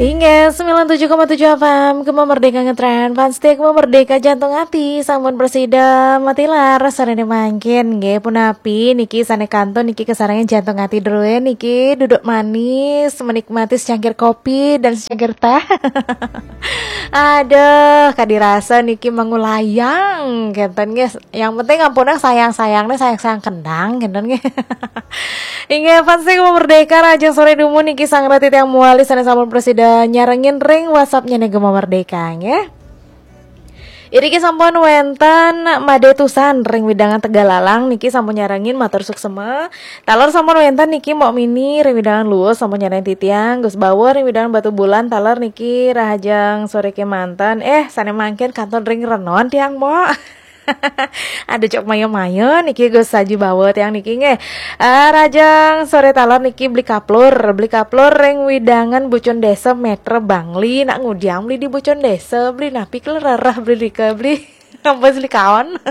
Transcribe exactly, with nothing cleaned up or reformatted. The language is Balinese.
Inggih, sembilan tujuh koma tujuh F M, Gema Merdeka ngetren, fans setia Gema Merdeka jantung hati, sampun prasida matilar, sore mangkin, nggih, punapi, niki sane kantun, niki kesarengan jantung hati druwe, niki duduk manis, menikmati secangkir kopi dan secangkir teh. Aduh, kadirasa niki mengulayang, kenten nggih. Yang penting ampunang sayang-sayangnya, sayang-sayang kendang, kenten nggih. Inggih, fans setia Gema Merdeka, rahajeng sore dumun niki sang rati tiang muali sane sampun prasida nyarengin ring WhatsApp-nyane Gema Merdeka, nggih. Iriki sampun wenten Made Tusan ring wewidangan Tegallalang niki sampun nyarengin, matur suksema. Taler sampun wenten niki Mbok Mini ring wewidangan Luwus sampun nyarengin titiang, Gus Bawa ring wewidangan Batubulan, taler niki rahajeng sore kemanten. Eh, sane mangkin kantun ring Renon tiang, Mbok. Ada cok mayo-mayo niki Gus Haji Bawa tiang niki nggih. Ah, rahajeng sore taler niki Beli Kaplur, Beli Kaplur ring wewidangan Bucun Desa Metre Bangli, nak ngudiang beli di Bucun Desa, beli napi kelerereh beli rika beli. Ampun, beli kaon.